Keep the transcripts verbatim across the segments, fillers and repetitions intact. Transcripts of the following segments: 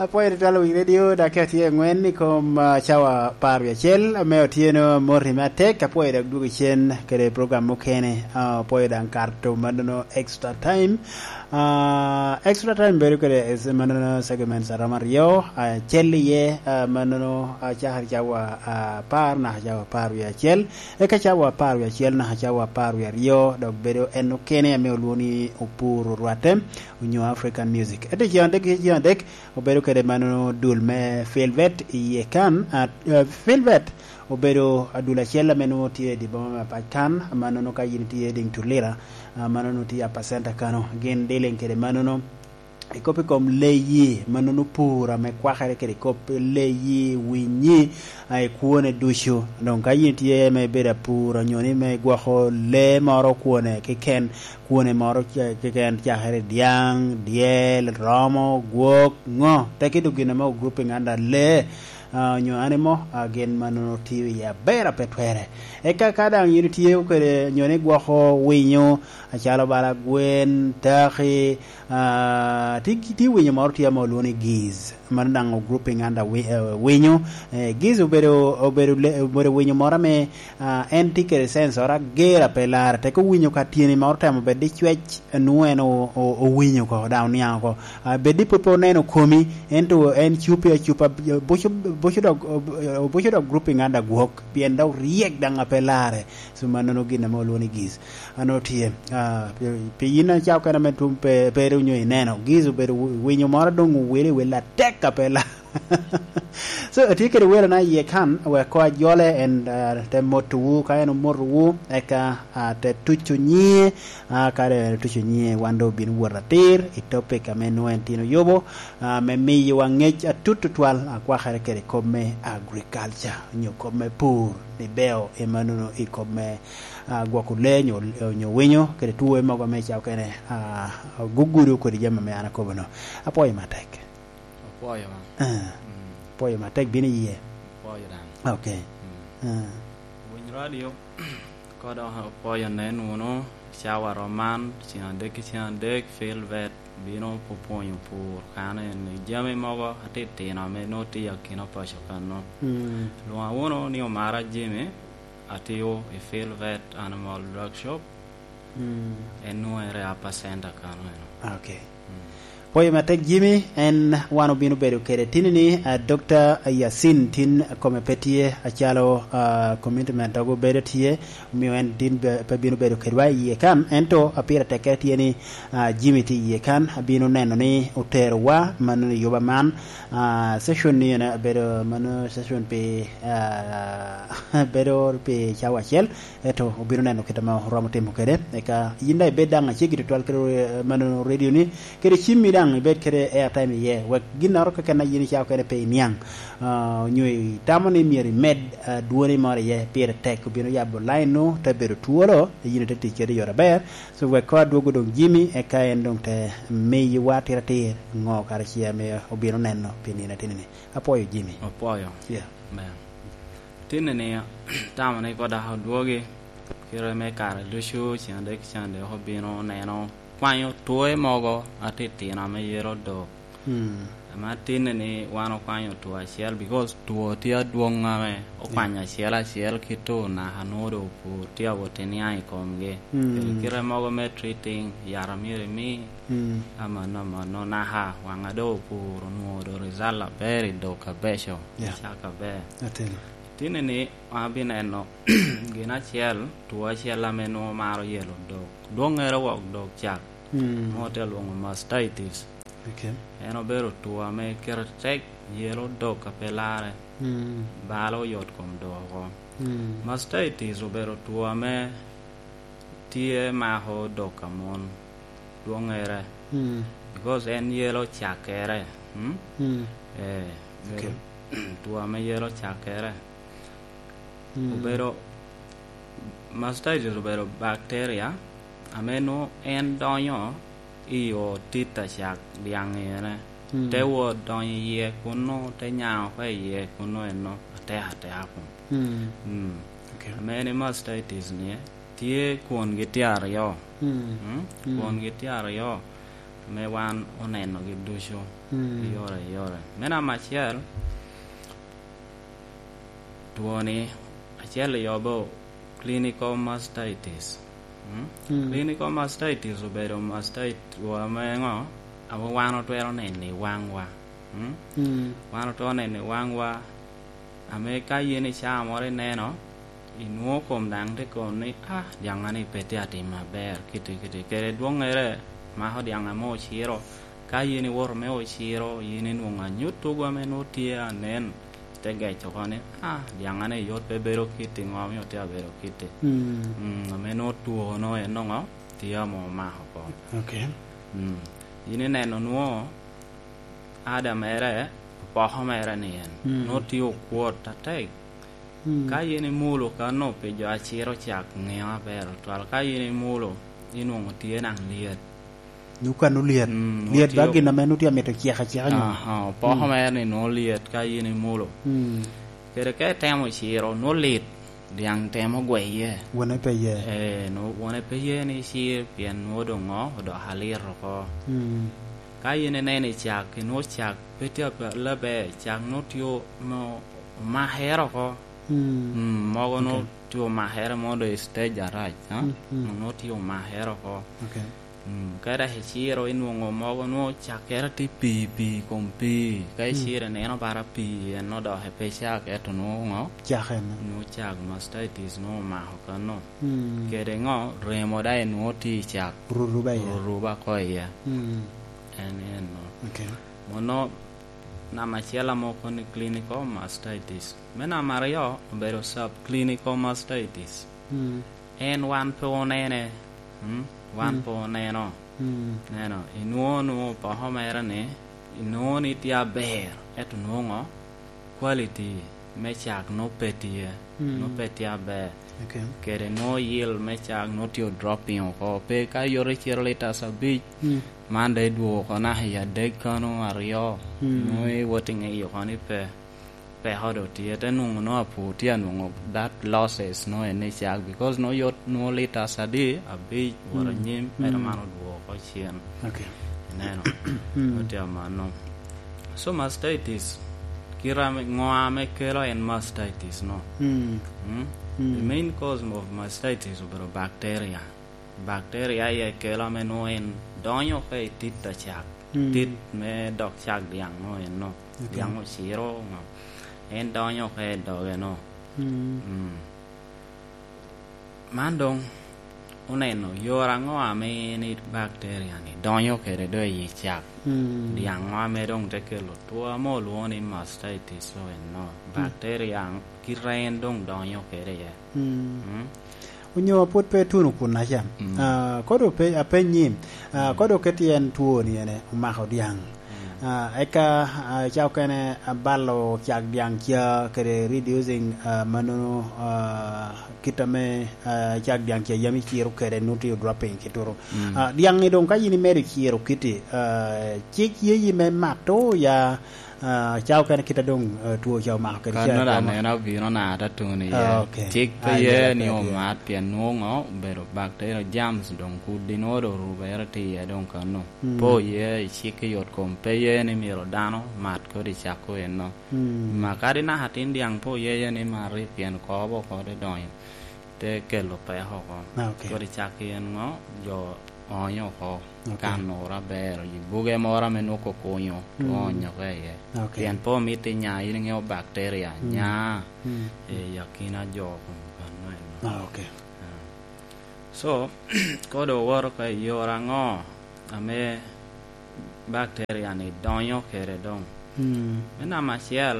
Apwoyo tutwal wi radio, dok atye angwen i kom, ah, cawa apar wiye acel, ame otyeno amoti me atek. Apwoyo dok dwogo cen kede program mukene. Ah, apwoyo daŋ kato mannono extra time. Ah, extra time bedo kede es-, mannono segments aromo aryo, acel iye, ah, mannono, ah, cakere cawa, ah, apar naka cawa apar wiye acel. Eka cawa apar wiye acel naka cawa apar wiye aryo, dok bedo en okene ame olwoŋo ni Opur Orwatte, onyo African Music. Ento i ceng adek, i ceng adek, obedo kede mannono dul me Filvet i yie kan, a, a, Filvet obedo adul acel ame nwoŋo tye i dye boma me Apac kan, mannono ka yin itye i Diŋ Tulira, a, mannono tye i Upper Center kano. Gin dealing kede mannono. I kop i kom leyi, mannono pur ame kwakere kede kop leyi, winyi, a, i kwone ducu. Doŋ ka yin itye me bedo apur, onyo ni me gwoko lee moro kwone keken, kwone moro ce-, keken cakere dyaŋ, dyel, romo, gwok, ŋo? Tek idu gin ame o grouping under lee, a, onyo animal, a, gin mannono tiyo iye aber a pe twere. Eka ka daŋ yin itye kede, onyo ni gwoko winyo, acalo bala gwen, taki, a, ti, ti winyo moro tye ame olwoŋo ni geese. Mano daŋ o grouping under wi-, eh, winyo. Eh, geese obedo, obedo le-, obedo winyo moro ame, a, en tye kede sense oro ager a pe larre. Tek owinyo ka tyeni ma otemo bed i cwec, nwoŋo en o-, o-, owinyo oko, daŋ oniaŋ oko. A, bed ni pwod pe oneno komi, ento en cupi acupa, buco, buco dok, buco dok grouping under gwok, pien dok ryek daŋ a pe larre. So, mannono gin ame olwoŋo ni geese. An otye, ah, pi, pi yin acao kena me tum pe, pe ru nyo ineno. Geese obedo wi-, winyo moro doŋ owele, wele atek a pe la. So, atye kede welona iye kan, wek koŋ ajole en, ah, te motowu, ka en omotowu, eka, ah, te tuco nyiŋe, ah, ka doŋ en otuco nyiŋe, wan doŋ obino wot atir i topic ame nwoŋo en tin oyubo, ah, me miyowa ŋec atut tutwal, akwakere kede kop me agriculture, onyo kop me pur, ni beo, ema nono i kop me, ah, gwoko lee, onyo, onyo winyo, kede two mogo ame i cawa okene, ah, gugudo kodi jami ame an akobo-nu. Apwoyo matek. Apwoyo, ma. Ah. Mm. Apwoyo matek bino iye. Apwoyo daŋ. Ok. Mm. Ah. Winy radio, kodo apwoyo nen wunu, cawa rom man, ceng adek ki ceng adek, Filvet bino pupwonyo pur, kano en i jami mogo atitino ame nwoŋo tye akina paco kano. Mm. Lwoŋa wunu ni Omara Jimmy, atiyo i Filvet Animal Drug Shop. Mm. En nwoŋo ere Upper Center kano eno. Ok. Mm. Pwoyo matek, Jimmy, en wan obino bedo kede tini ni, ah, Dokta Yasin tin kome pe tye acalo, ah, commitment ogo bedo tye, omio en tin be-, pe bino bedo kedwa i yie kan, ento a pire tekkere tye ni, ah, Jimmy tye i yie kan, abino neno ni oterowa mannono i yuba man, ah, session ni ene abedo mano session pi, ah, bedo pi cawa acel, ento obino neno kit ame oromo timo kede, eka yin daŋ ibed daŋ aceggi tutwal kede, eh, mano radio ni, kede cimmi daŋ ibed kede airtime iye, wek ginnoro keken a yin icako kede pe iniaŋ, ah, onyo itamo ni myero imed, ah, dwoni moro iye, pire tek, obino yabo line-nu, te bedo twolo, yin ite tic kede i yore aber. So, wek koŋ adwogo doŋ Jimmy, eka en doŋ te miyowa atiratir ŋo kara ce ame obino neno pi nino ateni-ni. Apwoyo, Jimmy. Apwoyo. Yeah. Amen. Tinni-ni, tamo ni koŋ dok odwogi, kite me kare ducu, ceng adek, ceng adek obino neno, kwanyo two mogo atitino ame yelo dok. Mm. Ame atinni-ni wan okwanyo two acel, because two tye adwoŋ ame okwanyo, yeah, acel acel ki two naka nwoŋo doŋ opur tye awot i niaŋ i komgi. Mm. Kede kite mogo me treating, yat a myero imi, mm, amanno, amanno, naka waŋa doŋ opur, onwoŋo doŋ result aber i dok abeco, yeah, i cak aber. Ateni. Tinni-ni, wan abineno gin acel, two acel ame nwoŋo maro yelo dok. Dwoŋŋere wok dok cak. Mm. Nwoŋo tye alwoŋo mastitis. Ok. En obedo two ame kite tek, yelo dok a pe larre. Mm. Balo oyot kom dok oko. Mm. Mastitis obedo two ame tye mako dok a mon, dwoŋŋere. Mm. Because en yelo cakkere. Mm? Mm. Eh, ok, bedo two ame yelo cakkere. Mm. Obedo, mastitis obedo bacteria ame nwoŋo en donyo i yo tit a cak dyaŋ ene. Mm. Te wot donyo iye kunnu, te nyaŋ oko iye kunnu eno, atek ateka kun. Mm. Mm. Ok. Ame ni mastitis ni, tye kwongi tye aryo. Mm. Mm? Mm. Kwongi tye aryo. me wan onenogi ducu. Mm. I yore, i yore. Me namba acel, twoni acel i obo clinical mastitis. Mm? Mm. Clinical mastitis obedo mastitis wa me ŋo? Ame wan otwero neno i waŋwa. Mm? Mm. Wan otwero neno i waŋwa, ame ka yin i caa moro ineno, inwoŋo kom daŋ tye kono ni, "Ah, dyaŋŋa-ni pe tye atim aber, kiti, kiti." Kede dwoŋŋere mako dyaŋ ame ociro. Ka yin iwoto me ociro, yin inwoŋo anyut tugo ame nwoŋo tye anen, ite geco oko ni, "Ah, dyaŋŋa-ni yot pe bedo kiti, ŋo omio tye abedo kiti?" Mm. Mm, ame nwoŋo two-no en nwoŋo tye ame omako oko. Ok. Mm. Yin ineno nwoŋo ada mere, opoko mere ni en. Mm. Nwoŋo tye okwot atek. Mm. Ka yin imulo kano pi jo aciro cak, ŋeo aber tutwal. Ka yin imulo, inwoŋo tye naŋ lyet. Nwoŋo kano lyet. Mm, nwoŋo Lyet tye ba gin ame nwoŋo tye amito cek aceka nyo? Aha, opoko Mm. mere ni nwoŋo lyet ka yin imulo. Mm. Kede ka itemo ciro, nwoŋo lit, dyaŋ temo gweye. Wone pe ye. Eh, nwoŋo wone pe ye ni cir, pien nwoŋo doŋ ŋo, odoko alit oko. Mm. Ka yin ineno i cak, inwoŋo cak pe tye ape-, aber, cak nwoŋo tye o-, mo-, omakere oko. Mm. Mm, mogo nwoŋo Ok. tye omakere, mogo doŋ i stage arac, ha? Mm, mm. Nwoŋo tye omakere oko. Ok. Mm, ka dok iciro, inwoŋo mogo nwoŋo cakkere tye pii, pii i kom pii. Ka Mm. iciro, ineno bara pii, en odok pe cak, ento nwoŋo ŋo? Cak en. Nwoŋo cak, mastitis nwoŋo omako kano. Mm. Kede ŋo? Remo daŋ nwoŋo tye i cak. Ruruba iye. Ruruba ko iye. Mm. En, en no. Ok. Mono namba acel ame okobo ni clinical mastitis. Me namba aryo obedo subclinical mastitis. Mm. En wan pe onene. Mm? Wan Mm. pe oneno. Mm. Neno, inwoŋo, nwoŋo opoko mere ni, inwoŋo ni tye aber, ento nwoŋo quality me cak nwoŋo pe tye, Mm. nwoŋo pe tye aber. Ok. Kede nwoŋo yield me cak nwoŋo tye dropping oko. Pe ka yot iciro litas abic, Mm. man dok idwogo oko naka i adek kano aryo, Mm. nwoŋo iwot i ŋeye oko ni pe. Peko doŋ tye, te nwoŋo nwoŋo apur tye anwoŋo that losses nwoŋo en i cak, because nwoŋo yot nwoŋo litas adi, abic, wot Mm. anyim, mere Mm. man odwogo oko cen. Ok. Ineno? Mm. Nwoŋo tye amanno. So mastitis, kite ame, ŋo ame kelo en mastitis no? Mm. Mm? Mm. The main cause of mastitis obedo bacteria. Bacteria aye kelo, ame nwoŋo en donyo ka i tit a cak. Mm. Tit me dok cak dyaŋ nwoŋo en no. Ok. Dyaŋ ociro ŋo. En donyo ka i doge no. Mm. Mm. Man doŋ oneno yore aŋo ame en i bacteria-ni donyo kede doŋ i cak? Mm. Dyaŋ ŋo ame doŋ te kelo two ame olwoŋo ni mastitis o en no? Mm. Bacteria kite en doŋ donyo kede iye. Mm. Mm. Onyo pwod pe tuno kun acan. Mm. Ah, kodo pe, apenyi, ah, Mm. kodo keti en two ni ene omako dyaŋ. Mm. Ah, eka, ah, ca okene abalo cak dyaŋ ca kede reducing, ah, manono, ah, kit ame, ah, cak dyaŋ ca yam iciro kede nutri dropping kituro. Mm. Ah, dyaŋ ni doŋ ka yin imedo ciro kiti, ah, cik yeyi me mato ya, ah, ca okene kit a doŋ, ah, two ca omako kede Kano ca da doŋ. Neno abino na ata tuni Ah, iye. Ok. Cik pe Ah, ye yeah, ni yeah, yeah. Omat pien nwoŋo obedo bacteria germs doŋ kudi nwoŋo doŋ rubere tye iye doŋ kano. Mm. Pe oye i cik i yot kom, pe ye ni myero dano mat kodi cak eno. Mm. Ma kadi naka tin dyaŋ pe oye ye ni mati pien kobo oko te donyo. Te kelo peko oko. Ah, ok. Kodi cak en ŋo, jo onyo oko, ok. Kan oro aber, i buge moro ame nwoŋo okunyo, mm, onyo oko iye. Ok. Pien pe omito inya, in iŋeo bacteria, mm, nya, mm, i akina jo kun kan eno. Ah, ok. Ah. So, kodi owoto oko i yore aŋo ame bacteria-ni donyo kede doŋ. Mm. Me namba acel,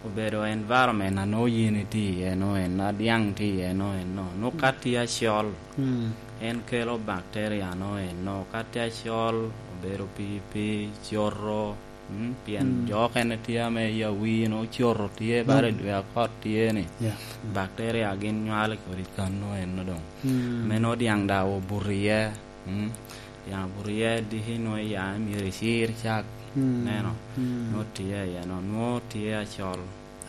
obedo environment a nwoŋo yin itye iye no eno, a dyaŋ tye iye no eno. Nwoŋo ka tye acol, mm, en kelo bacteria no eno. Ka tye acol, obedo pii pii, coto, mm, pyen, mm, jo okene tye ame i awii no coto tye, mm, bare dwe akot tye ni. Yeah. Bacteria gin nywalo kodi kan no eno doŋ. Mm. Me nwoŋo dyaŋ daŋ obuto iye. Mm. Dyaŋ obuto iye, diki nwoŋo iya myero icir cak. Mm. Neno. Mm. Nwoŋo tye iye no. Nwoŋo tye acol.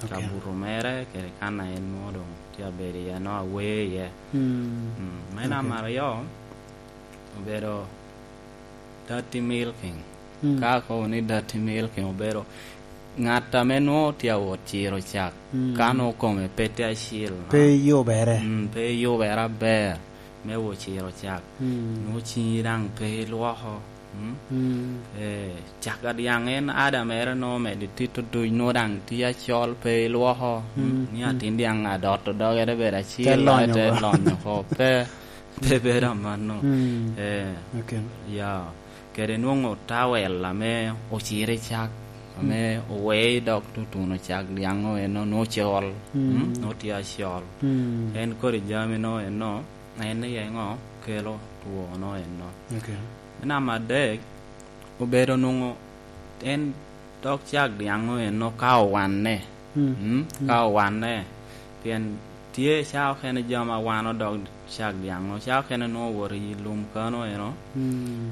Ok. Kabuto mere kede kan a en nwoŋo doŋ tye abedo iye no, awer iye. Mm. Mm. Me, ok, namba aryo, obedo Dirty milking. Mm. Ka akobo ni dirty milking obedo ŋat ame nwoŋo tye awot ciro cak, mm, ka nwoŋo kome pe tye acil, pe yubere. Mm, pe yubere aber me wot ciro cak. Mm. Nwoŋo ciŋi daŋ pe ilwoko. Mm? Mm. Eh, cak a dyaŋ en ada mere nwoŋo omedde tito duc, nwoŋo daŋ tye acol, pe ilwoko. Mm, mm. Ni atin dyaŋ adotto dogere bedo acil, te lonyo oko. Pe, pe bedo amanno. Mm. Eh, okay. Ya. Kede nwoŋo tawel ame ociro i cak, ame, mm, oweo i dog tutuno cak dyaŋ eno, nwoŋo col, mm, mm, nwoŋo tye acol. Mm. En kodi jami nwoŋo eno, en ni eŋo kelo twono eno. Okay. Me namba adek, obedo nwoŋo en dog cak dyaŋ eno ka owanne. Mm. Mm? Mm. Ka owanne, pien tye ca okene jami awano dog cak dyaŋ-o, ca okene nwoŋo owoto i lum kano eno, mm,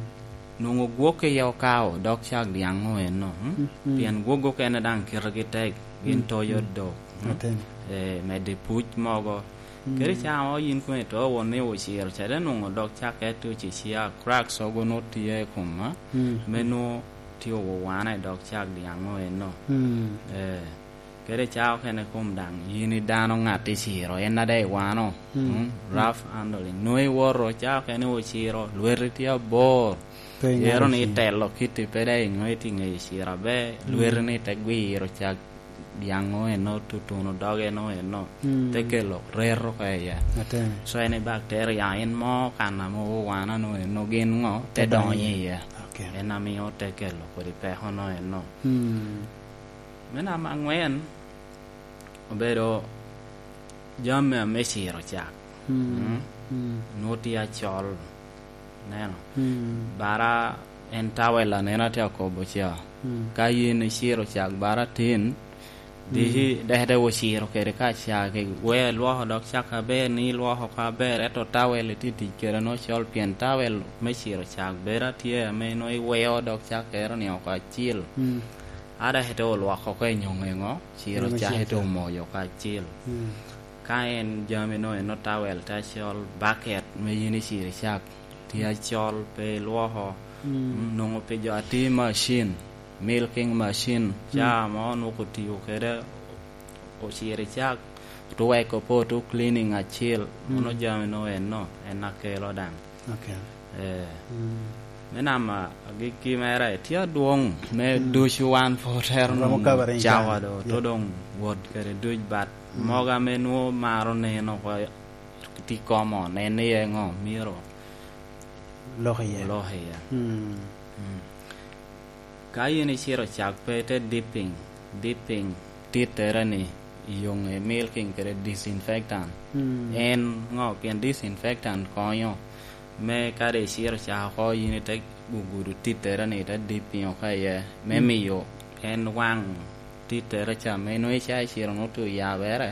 nwoŋo gwok iye okao dog cak dyaŋ-o eno, mm? Mm, mm. Pien gwok okene daŋ kitegi tek, gin, mm, toyo, mm, dok, mm? Aten. Eh, medo i puc mogo. Mm. Kadi ca mo yin kono ito won ni ociro ca, te nwoŋo dog cak ete ocicia, cracks ogo nwoŋo tye i koma, mm, me nwoŋo tye owane i dog cak dyaŋ-o eno. Mm. Eh. Kede ca okene kom daŋ yin i dano ŋat iciro, en ade iwano, mm, mm, mm, rough handling. Nwoŋo iwoto, ca okene ociro, lweti tye abor. Pe iŋeo ero ni ciro. Itelo kiti pe daŋ iŋeo iti ŋeyo ciro aber, mm, lweti ni te gwiro cak dyaŋ-o eno, tutuno doge eno eno, mm, te kelo reto oko iye. Aten. So en i bacteria, en mo kan ame owano eno gin ŋo, te donyo iye. Okay. En amio te kelo kodi peko no eno. Mm. Me namba aŋwen, obedo jami ame ciro cak. Mm. Mm. Mm. Nwoŋo tye acol. Neno. Mm. Bara en tawel aneno atye akobo ca. Mm. Ka yin iciro cak bara tin, diki, mm, dek te ociro kede ka cak, we ilwoko dog cak aber ni ilwoko oko aber, ento tawel itye tic kede nwoŋo col, pien tawel me ciro cak bedo atye ame nwoŋo iweo dog cak ero ni oko acil. Mm. Ada ete olwoko oko i nyoŋe ŋo, ciro cak ete omoyo oko acil. Mm. Ka en jami no eno tawel te acol, baket me yin iciro cak tye acol, pe ilwoko. Mm. Mm, nwoŋo pi jo ati macin, milking machine, mm, ca mo nwoŋo otiyo kede ociro cak, otu weko pe otu cleaning acil, mm, mono jami no eno, en akelo daŋ. Okay. Eh. Mm. Me namba agikki mere, tye adwoŋ me, mm, ducu wan pwod otero nwoŋo cawa do, to doŋ wot kede duc, but, mm, mogo ame nwoŋo maro neno oko tye common, en iye ŋo myero lok iye. Lok iye. Mm. Mm. Ka yin iciro cak pe ite dipping, dipping tittere ni i yoŋe milking kede disinfectant. Mm. En ŋo? Pien disinfectant konyo me kadi iciro cak oko, yin ite gugudo tittere ni ite dipping oko iye, me, mm, miyo en waŋ tittere ca, me nwoŋo ica iciro nwoŋo tu yabere,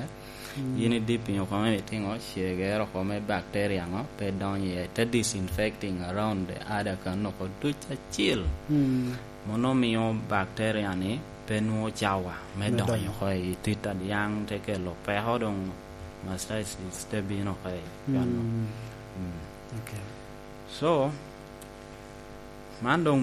mm, yin idipping oko me timo cegere oko me bacteria ŋo pe donyo iye, te disinfecting around the other kan oko duc acil. Mm. Mono mio bacteria ni pe nwoŋo cawa me, me donyo, donyo oko i tit a dyaŋ, te kelo peko, doŋ mastitis te bino oko i kan-nu. Mm. Mm. Okay. So, man doŋ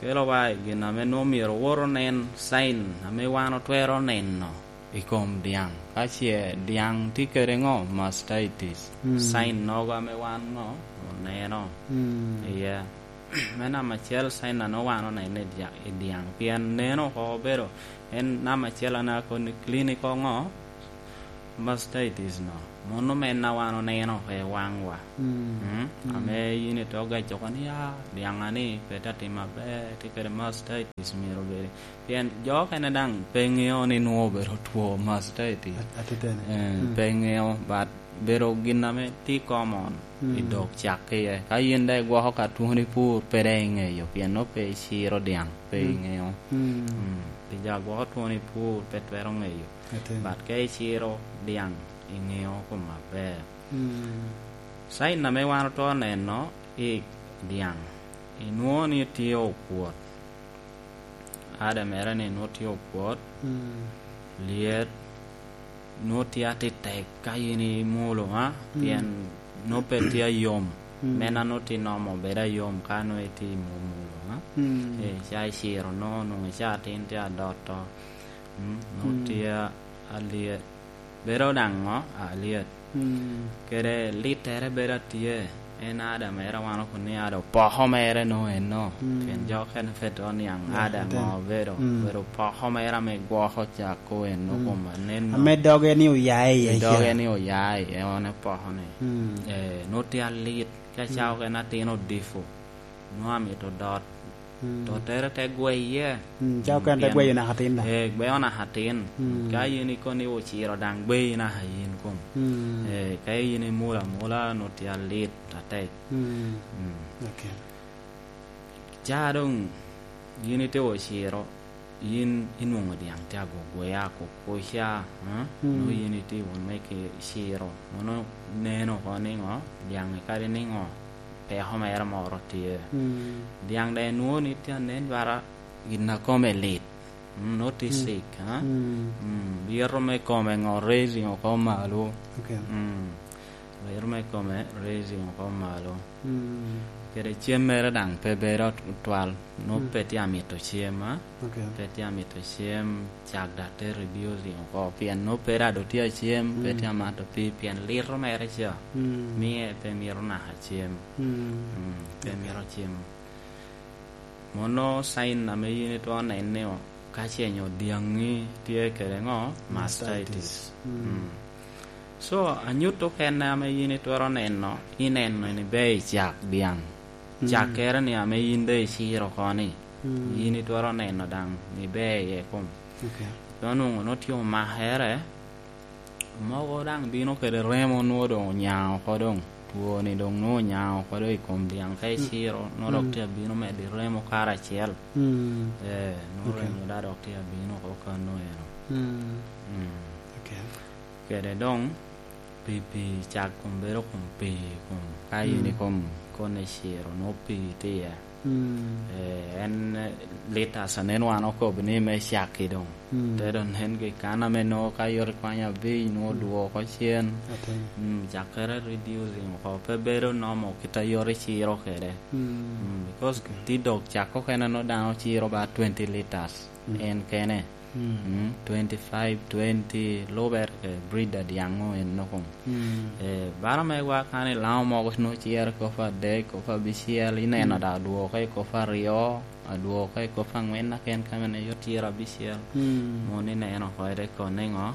kelowa i gin ame nwoŋo myero wot onen, sign ame wan otwero neno i kom dyaŋ. Ka ce dyaŋ tye kede ŋo? Mastitis. Mm. Sign nogo ame wan ŋo? Oneno. Mm. Iye. Me namba acel, sign a nwoŋo wan oneno i dya-, i dyaŋ. Pien neno oko obedo en namba acel, an akoni clinical ŋo? Mastitis no. Mono me en a wan oneno oko i waŋwa. Mm. Mm? Mm. Ame yin ito gac oko ni, "Ah, dyaŋa ni pe te timo aber, tye kede mastitis, myero obedi." Pien jo okene daŋ pe ŋeo ni nwoŋo obedo two mastitis. At-, atitene. Eh, mm, pe ŋeo, but bedo gin ame tye common, mm, i dog cak iye. Ka yin daŋ igwoko ka twoni pur, pe daŋ iŋeyo, pien nwoŋo pe iciro dyaŋ, pe, mm, iŋeo. Mm. Mm. Pi jo a gwoko twoni pur, pe twero ŋeyo. Atin. But ka iciro dyaŋ, iŋeo kome aber. Mm. Sign ame wan otwero neno i dyaŋ, inwoŋo ni tye okwot. Ada mere ni nwoŋo tye okwot, mm, lyet, nwoŋo tye atitek ka yin imulo, ha? Mm. Pien nwoŋo pe tye ayom. Mm. Men a nongo tye nomo bedo ayom ka nongo itye i mwomo loŋa. Mm. Eh, ca iciro nongo, nongo ica atin tye adoto. Mm, nongo Mm. tye a-, alyet. Bedo daŋ ŋo? Alyet. Mm. Kede littere bedo atye. En ada mere wan okun ni ada opoko mere nongo eno. Mm. Pien jo okene pe to niaŋ Yeah, ada atin. Ŋo obedo. Mm. Obedo opoko mere ame gwoko cak ko eno Mm. kom aneno. Ame doge ni oya iye Ame doge ca. Ni oya iye, en opoko ni. Mm. Eh, nongo tye alit. Ka Mm. ca okene atin odifo. Nongo amito dot. Mm. Tottere te gweye. Mm, ca okene te Mm, gweyo naka atin da. Eh, gweyo naka atin. Mm. Ka in ikono ni ociro daŋ gweyi naka in kom. Mm. Eh, ka in imulo amula, nongo tye alit atek. Mm. Mm. Okay. Ca doŋ in ite ociro, in inwoŋo dyaŋ tye agogwea kukuca, eh? Mm. Nongo in itye wun me ki ciro. Mono neno oko niŋo? Dyaŋ kadi niŋo? Peko mere moro tye. Mm. Dyaŋ daŋ inwoŋo ni tye anen bara gin a kome lit. Mm, nongo tye Mm. sick, ha? Mm. Mm, lyeto me kome ŋo raising oko malo. Okay. Mm. Lyeto me kome raising oko malo. Mm. Kede cem mere daŋ pe bedo twal. Nongo Mm. pe tye amito cem, ha? Okay. Pe tye amito cem, cak daŋ te reducing oko. Pien nongo pe daŋ dok tye acem, pe Mm. tye amato pii, pien lyeto mere ca. Mm. Miye pe mito naka cem. Mm. Mm, pe Okay. mito cem. Mono sign ame in itwero neno ni o-, ka ce nyo dyaŋi tye kede ŋo? Mastitis. Mastitis. Mm. Mm. So, anyut okene ame in itwero neno, ineno ni ber i cak dyaŋ. Mm. Cakkere ni ame in doŋ iciro oko ni, Mm. in itwero neno daŋ ni ber iye kom. Okay. Dok onwoŋo nongo tye omakere, mogo daŋ bino kede remo nwoŋo doŋ onya oko doŋ. Twoni doŋ nwoŋo onya oko doŋ i kom dyaŋ ka Mm. iciro, nongo dok Mm. tye abino medo i remo karacel. Mm. Eh, nongo Okay. remo daŋ dok tye abino oko kano eno. Mm. Mm. Okay. Kede doŋ, pi, pi cak kom bedo kom pi kom. Ka in Mm. i kom kone ciro, nwoŋo pi tye iye. Mm. Eh, en, eh, litas anen wan okobo ni me cakki doŋ. Mm. Te doŋ nen ki kan ame nwoŋo ka yot ikwanyo abic, nwoŋo Mm. dwoko cen. Atin. Mm, cakkere reducing oko. Pe bedo nomo kit a yot iciro kede. Mm. Mm, because Okay. ti dog cak okene nwoŋo dano ciro ba twenty liters. Mm. En kene. Mm. Mm, twenty-five, twenty, lubere ke breed a dyaŋ o en noko. Mm. Eh, baro megwa kan i Laŋo mogo nwoŋo ciro i kop adek, kop abicel, ineno Mm. da adwoke i kop aryo, adwoke i kop aŋwen, aken ka mene yo ciro abicel. Mm. Mono ineno oko ede kono niŋo?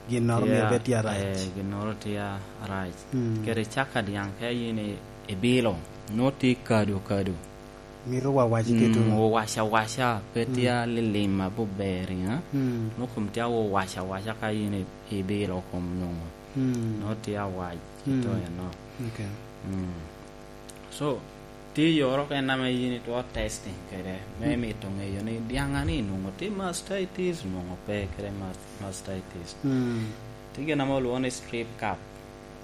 Ginnoro myero bed tye arac. Eh, ginnoro tye arac. Mm. Kede cak a dyaŋ ka in i, i bilo, nwoŋo tye kado kado. Mito wawac Mm, iketo. Owac awaca, pe Mm. tye alilim aboberi, ha? Mm. Nwoŋo kom tye owac awaca ka in i, i bilo kom nwoŋo. Mm. Nwoŋo tye awac Mm. ito eno. Okay. Mm. So, tye yore okene ame in itwero testing kede, me Mm. mito ŋeyo ni dyaŋa ni nwoŋo tye mastitis, nwoŋo pe kede mas-, mastitis. Mm. Tye gin ame olwoŋo ni strep cup.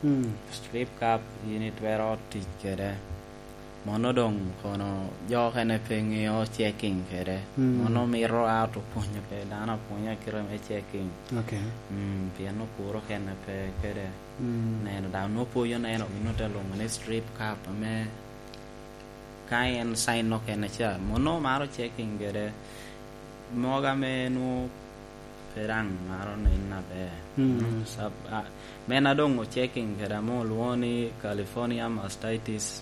Mm. Strep cup in itwero tic kede. Mono doŋ kono jo okene pe ŋeo checking kede. Mm. Mono mito a to pwonyo pe dano apwonya kite me checking. Okay. Mm, pien opuro okene pe kede. Mm. Neno daŋ nwoŋo pwoyo neno gin ote lwoŋo ni strep cup ame ka en sign okene ca. Mono maro checking kede. Mogo ame nwoŋo pe daŋ maro nen aber. Mm. Mm, sab-, a, men a doŋ o checking kede ame olwoŋo ni California mastitis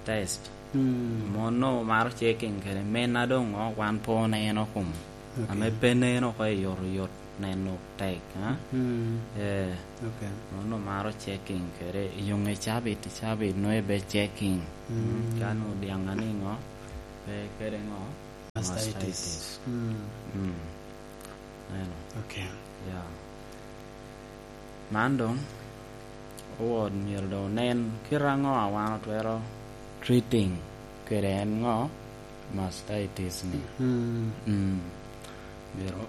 test. Mm. Mono maro checking kede men a doŋ o wan pe oneno kom. Okay. Ame pe neno oko i yot oyot neno tek, ha? Mm. Eh, Okay. Mono maro checking kede. I yoŋe cabit, cabit nwoŋo ibe checking. Mm. Mm, ka nwoŋo dyaŋ a niŋo, pe kede ŋo? Mastitis. Mastitis. Mm. Mm. Neno. Okay. Ya. Man doŋ, owot myero doŋ onen kit aŋo a wan otwero treating kede en ŋo? Mastitis ni. Mm. Mm. Myero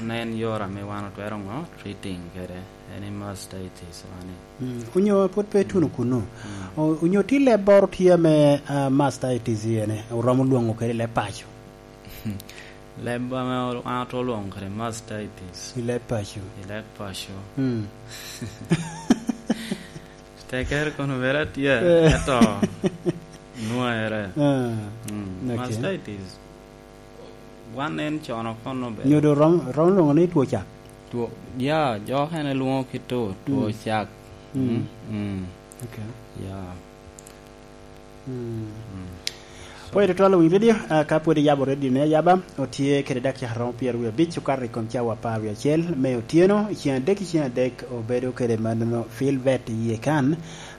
onen yore ame wan otwero ŋo? Treating kede en i mastitis mani. Mm. Onyo pwod pe tuno kuno. Mm. O-, onyo ti leb boro tye ame, ah, mastitis ene, oromo lwoŋo kede leb paco. Leb ame wan otwero lwoŋo kede mastitis. I leb paco. I leb paco. Mm. Tekere kono bere atye, eh, eto nwoŋere. Ah, mm, okay. Mastitis, wan en cono kono bene. Nyodo rom, rom lwoŋo ni two cak? Two, ya, jo okene lwoŋo ki two, two, mm, cak. Mm. Mm, mm. Okay. Ya. Mm. Mm. Pwod itwal winy redio, ah, ka pwod iyabo redio ni ayaba, otye kede dakika romo pyero wie abic okato i kom cawa apar wie acel me otyeno, i ceng adek, i ceng adek obedo kede manono Filbert iye kan.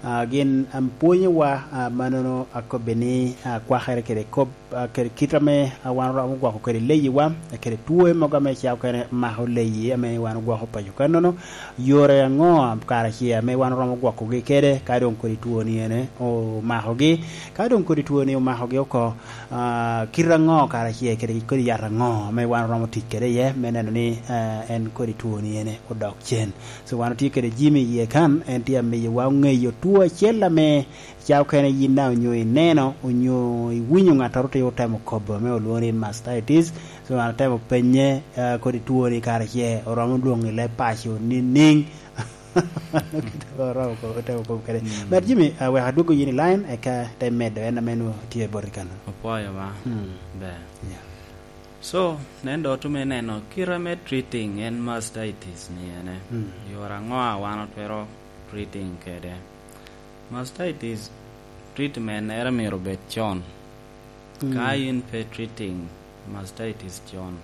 Ah, gin, am, pwonyowa, ah, manono akobbe ni, ah, kwakere kede kop, ah, kede kit ame, ah, wan oromo gwoko kede leyiwa, ah, kede two mogo ame ca okene mako leyi ame wan ogwoko paco kannono. Yore aŋo kara ce ame wan oromo gwokogi kede ka doŋ kodi twoni ene omakogi? Ka doŋ kodi twoni omakogi oko, ah, kite aŋo kara ce kede kodi yat aŋo ame wan oromo tic kede iye me neno ni, ah, en kodi twoni ene odok cen? So, wan otye kede Jimmy iye kan, en tye amiyowa oŋeyo two acel ame ca okene yin daŋ onyo ineno, onyo iwinyo ŋattoro tye otemo kobo ame olwoŋo ni mastitis. So, an atemo penye, ah, kodi twoni kara ce oromo lwoŋo i leb paco nining? Kite oromo ko-, otemo kobo kede. Mm. But Jimmy, ah, wek adwoggo yin i line, eka te medo en ame nwoŋo tye boti kan. Opwoyo ba. Mm. Ber. Yeah. So, nen dot me neno kite me treating en mastitis ni ene. Mm. Yore aŋo a wan otwero treating kede? Mastitis treatment ere myero obed con. Mm. Ka in pe treating mastitis con,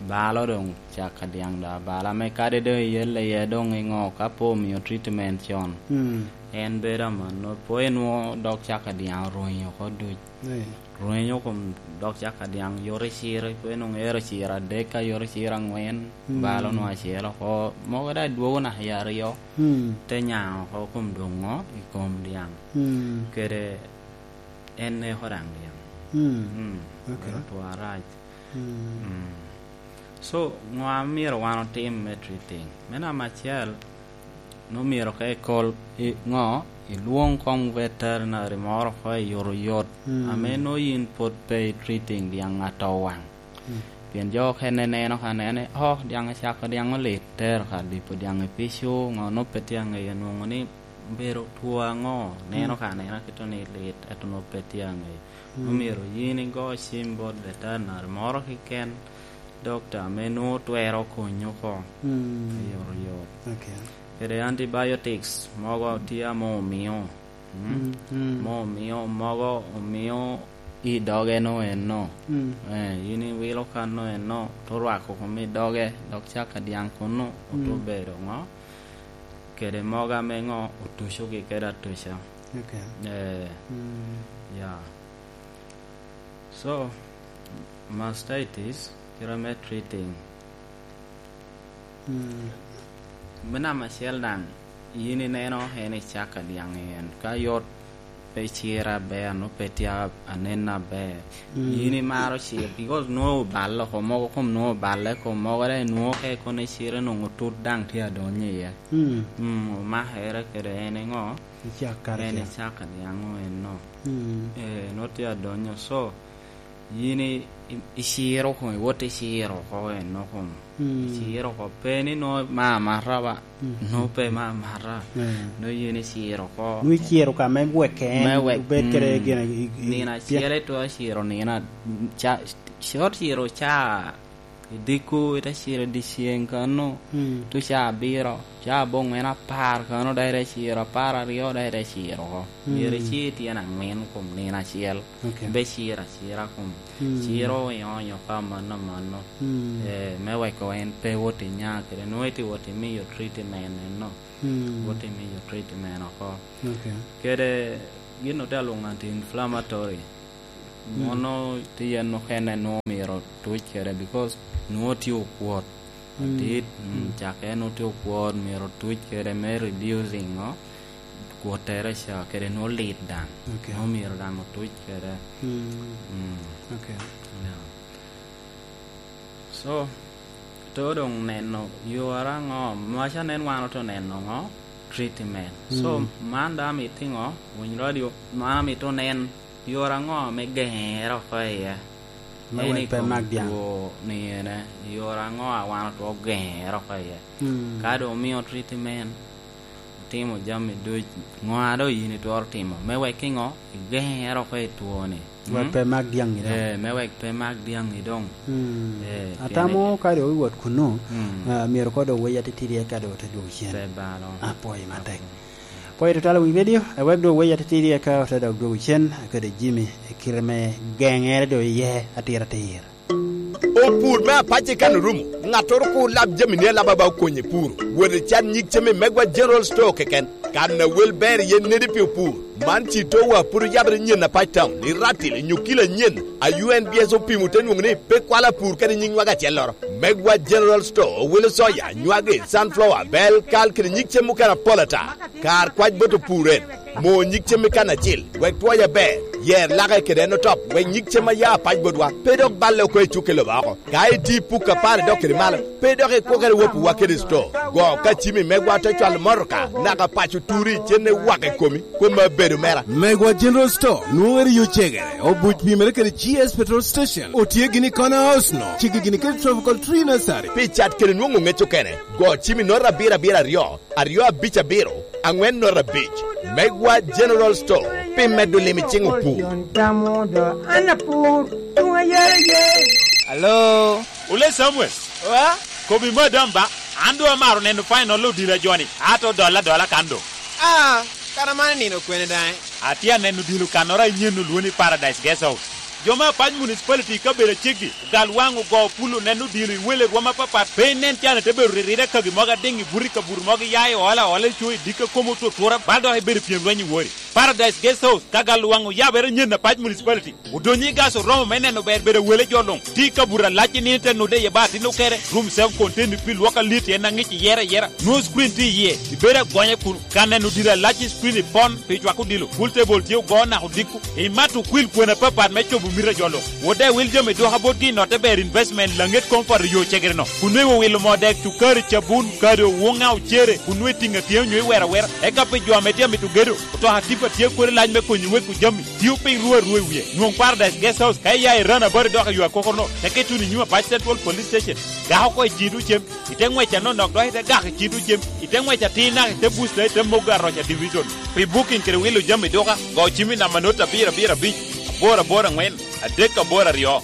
balo doŋ cak ka dyaŋ da. Balo ame kadi doŋ iyelle iye doŋ iŋo ka pe omio treatment con. Mm. En bedo amanno, pe inwoŋo dok cak ka dyaŋ orwenyo oko duc. Eh. Rwenyo kom dok cak ka dyaŋ, yot i ciro, pe nwoŋo ero ciro adek, ka yot i ciro aŋwen, mm, balo nwoŋo acel oko, mogo daŋ dwogo naka i aryo, mm, te nyaŋ oko kom doŋ ŋo i kom dyaŋ. Mm. Kede en neko daŋ dyaŋ. Mm. Mm. Okay. Obedo two arac. Mm. Mm. So, ŋo a myero wan otim me treating? Me namba acel, nwoŋo myero ka ikol i ŋo, ilwoŋ koŋ veterinary moro oko i yot oyot, mm, ame nwoŋo yin pwod pe i treating dyaŋ atowaŋ. Mm. Pien jo okene neno ka nene, "Oh, dyaŋ ocako dyaŋ olit, tero ka dipo dyaŋ i pico, ŋo nwoŋo pe tye aŋeyo nwoŋo ni obedo two aŋo, neno, mm, ka anena kito ni lit, ento nwoŋo pe tye aŋeyo." Mm. Omyero yin igo cim bot veterinary moro keken, dokta ame nwoŋo twero konyi oko, mm, i yot oyot. Okay. Kede antibiotics mogo tye ame omio, mm? Mm, mm. Mo omio, mogo omio i doge no eno. Mm. Eh, yin iwilo kan no eno, to rwako kom i doge, dok cak ka dyaŋ kunnu, oto, mm, bedo ŋo? Kede mogo ame ŋo, otuco gi kede atuca. Okay. Eh, mm, ya. So, mastitis, kite me treating. Mm. Me namba acel daŋ, yin ineno en i cak ka dyaŋ en. Ka yot pe cira aber, nwoŋo pe tye anen aber. Mm. Yin imaro cir, because nwoŋo oballe oko, mogo kom nwoŋo oballe oko, mogo daŋ nwoŋo ka ikone cire nwoŋo tut daŋ tye adonyo iye. Mm. Mm, omakere kede en iŋo? I cak karacel. En i cak a dyaŋ eno. Mm. Eh, nwoŋo tye adonyo. So, yin i, i, iciro oko, iwot iciro oko eno kom. Mm. Iciro oko. Pe ni nwoŋo ma amata ba. Mm. Nwoŋo pe ma amata. Mm. Nwoŋo yin iciro oko. Nwoŋo iciro ka me wek en, me wek, obed kede, mm, gin i, i, nino acel itwero ciro nino a-, ca, cot ciro ca i diko, ite ciro i dyeceŋ kano, mm, tuco ca abiro, ca aboŋwen apar kano, dok ite ciro apar aryo, dok ite ciro oko. Mm. Myero icir tyen aŋwen kom nino acel. Okay. Pe ciro acira kom. Mm. Ciro onyo onyo ka mano mano. Mm. Eh, me weko en pe wot inya kede, nwoŋo ite wot imiyo treatment eno. Mm. Wot imiyo treatment oko. Okay. Kede gin ote alwoŋo anti-inflammatory. Mm. Mono tye yen okene nwoŋo myero otuc kede, because nwoŋo tye okwot. Mm. Adit, mm, mm, cak en nwoŋo tye okwot, myero otuc kede me reducing, o, kwottere ca, kede nwoŋo lit daŋ. Okay. Nwoŋo myero daŋ otuc kede. Mm. Mm. Okay. Yeah. So, to doŋ neno yore aŋo, maca nen wan oto neno ŋo? Treatment. So, mm, man daŋ amito ŋo? Winy radio, man amito nen yore aŋo ame geŋere oko iye? Me wek pe mak dyaŋ. Two ni ene, yore aŋo a wan otwero geŋere oko iye? Mm. Ka doŋ omio treatment, Timo jami duc, ŋo a doŋ yin itwero timo, me wek iŋo? Igeŋere oko i twoni. Wek Mm? pe mak dyaŋi doŋ. Eh, me wek pe mak dyaŋi doŋ. Mm. Eh, pien Atamo ka doŋ iwot kunnu, Mm. ah, myero koŋ doŋ wei atitidi eka doŋ ote dwogo cen. Pe balo. Apwoyo matek. Apwoyo. Pwoyo tutwal wi redio, eh, wek doŋ wei atitidi eka ote dok dwogo cen, kede Jimmy, i kite me geŋere doŋ iye atiratir. Opur me apac i kan orumo, ŋattoro kur lab jami ni alaba ba okonye puro. Wot i can nyig cem i Megwa General Store keken. Kan a wel ber iye nedi pi opur. Man ci towa pud oyabere nyen apac town, i Ratil, i Nyukila nyen, a U N B S opimo te nwoŋo ni pe kwalo apur kede nyiŋ nwaga acelloro. Megwa General Store owilo soya, nywagi, sunflower, bel, kal kede nyig cem mukene apol ata. Kar kwac bot opur en, mo nyig cem i kan acil, wek twoc aber, yer lake kede en otop, wek nyig cem a ya apac botwa pe dok balle oko i cukke lobo oko. Ka itye i puk apar idok kede malo, pe dok ikwokere wopiwa kede sto. Go ka cimi megwa te cwalo motoka, naka paco turi, cen ewak i komi, kom abedo mera. Megwa General Store nwoŋere yo cegere, obuc pimere kede G S Petrol Station, otye gini i Corner House no, ceggi gini kede Tropical Tree Nursery. Pi cat kede nwoŋo ŋec okene, go cimi noto abiro abiro aryo, aryo abic abiro, aŋwen noto abic. Megwa General Store, pi medo lim i ciŋ opur. Alo? Ole Samuel. Oa? Kobi madam ba, an doŋ amaro neno final odilo joni, ato dola dola kan doŋ. Ah, kara man nino kwene daŋ? Atye aneno odilo kannoro a inyen olwoni Paradise Guest House. Jo me Apac Municipality i kabedo aceggi, ogal waŋ ogo pul oneno odilo i wele rwom apapat, pe inen can ite bedo riride kagi mogo adiŋ i buto i kabuto mogo iya i ola ola i co i dikka komo otutura, bal dok ibedo pyem lweny i wori. Paradise Guest House, ka gal waŋ oyabere nyen Apac Municipality, odonyo i gas oromo me neno ber bedo wele jo luŋ. Tye i kabuto alac i nino ite nude iye ba atin okere, room self contained pi lwok alit en aŋic iyere ayera. Nwoŋo screen tye iye, ibedo agonya kuno. Ka neno odilo alac i screen i pon, pi cwako odilo, pool table tye ogo naka odiko. Imato okwil kwena apapat me cobo mito a jo luŋ. Wot daŋ iwil jami dwoka botgi i notte ber investment Laŋet Comfort i yo cegere-no. Kun nwoŋo iwilo moo dek, cukari, cabun, kado, wuŋa, ocere, kun nwoŋo itiŋo atyea onyo iwero awera. Eka pi jo ame tye amito gedo, otoka tipa tye kodi lac me konyi weko jami. Tio piny ruu aruu i wie. Nwoŋ Paradise Guest House ka iya i Ranabat idok i yo akokoro-no, teke ituno i nyim Apac Central Police Station. Gak oko i cito cem. Ite ŋwec anonok dok ite gak i cito cem, ite ŋwec atir naka ite busta ite mogo aroca division. Pi booking kede wilo jami duka, go cim i namba not abiro abiro abic, aboro aboro aŋwen, adek aboro aryo.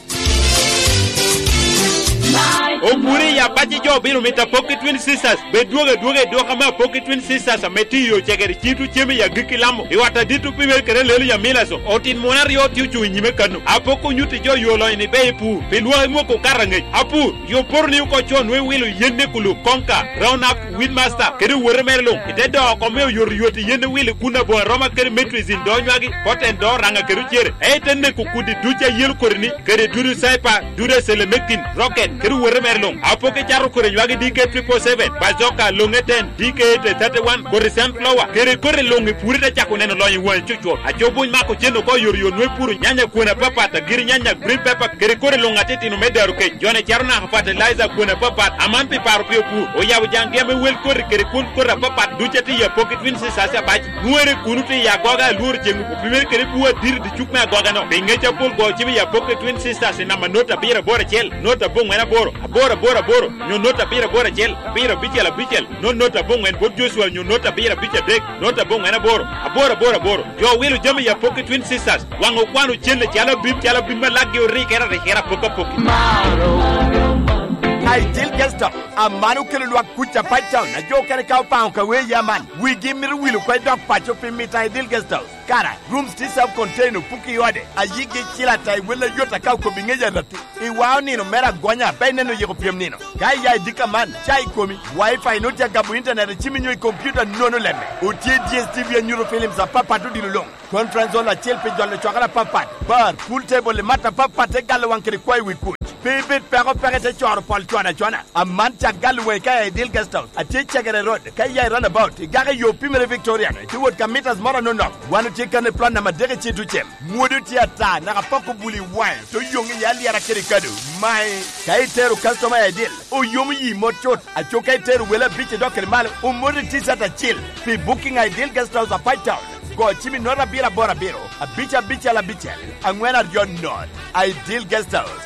Opuri i Apac jo obino mito Apoki Twin Sisters, bed dwogo adwoga i duka me Apoki Twin Sisters ame tye i yo cegere cito cem i agikki Lamo, i ot adit opimere kede Lelu Yamilaso, otin muno aryo tye ocuŋ i nyime kano. Apoki onyutti jo yo lonyo ni ber i pur, pi lwak imwoko okato aŋec. Apur, Yo poto ni oko con nwoŋo iwilo yen me kulu, konka, round up, weed master, kede owote mere luŋ, ite doo oko me oyotoyot i yen iwilo i kun aboŋo aroma kede metrizin do nywagi, poten do raŋa kede ocere, ento ite neko kudi duc a yelo kodi-ni, kede dudu caipa, dudu acelemekin, rocket, kede owote mere luŋ. Apoki cato kodi nywagi D K triple seven, bazoka, loŋe ten, D K eight thirty-one, kodi sunflower, kede kodi luŋ i puri te cako neno lonyo i waŋi cucwot. Aco buny mako cen oko oyotoyot nwoŋo ipuro nyanya kwene apapat, agiri nyanya, green pepper, kede kodi luŋ atitino me daro kec. Jone caro naka fertilizer kwene apapat, aman pi paro pi opur. Oyabo jaŋgi ame wel koti kede kwon koti apapat duc atye i Apoki Twin Sisters Abac. Nwere kuno tye i agoga alworo ceŋ opimere kede bur adit i dicuk me agoga-no. Pi ŋec apol go cim i Apoki Twin Sisters i namba not abiro aboro acel, not aboŋwen aboro, aboro aboro aboro, nyo not abiro aboro acel, abiro abicel abicel, not not aboŋwen bot Joshua nyo not abiro abic adek, not aboŋwen aboro, aboro aboro aboro. Jo wilo jami i Apoki Twin Sisters, waŋ okwano celle calo abim, calo abim ma lakgi orikere arikere apoki apoki. Ideal Guest House, aman okelo lwak kuc Apac Town, a jo okene ka opaŋo ka wee ya man, wigi mito wilo kwe dok paco pi mito Ideal Guest House. Kara, rooms tye self contained, opuki i ode, a yigi cilo ata i wel ayot aka okobi ŋec arati. I wao nino mere agonya, pe ineno yiko pyem nino. Ka iya i dikka man, ca i komi, wifi nut ya gabo internet i cimi nyo i computer nono lemme. Otye D S T V anyuto films apapat odilo luŋ. Conference hall acel pi jolo cwakere apapat. Bar, pool table i mat apapat te galo waŋ kede kwayo wi kuc. Pe ibed peko peke te coro pol cwana cwana. Aman ca galo waŋi ka iya i Ideal Guest House. Atye Cegere Road, ka iya i roundabout, igako i yo pimere Victorian, itye wot ka meters moro anonok. Wan otye kan i plot namba adek i Cito Cem. Mwodo tye ata, naka poko bul i waŋe, to yoŋ i alyera kede kado. Mae, ka itero customer i Ideal, oyomo yi mot cut. Aco ka itero wele abic idok kede malo, omoti t-shirt acil. Pi booking a Ideal Guest House Apac Town, go cim i note abiro aboro abiro, abic abicel abicel, aŋwen aryo not. Ideal Guest House.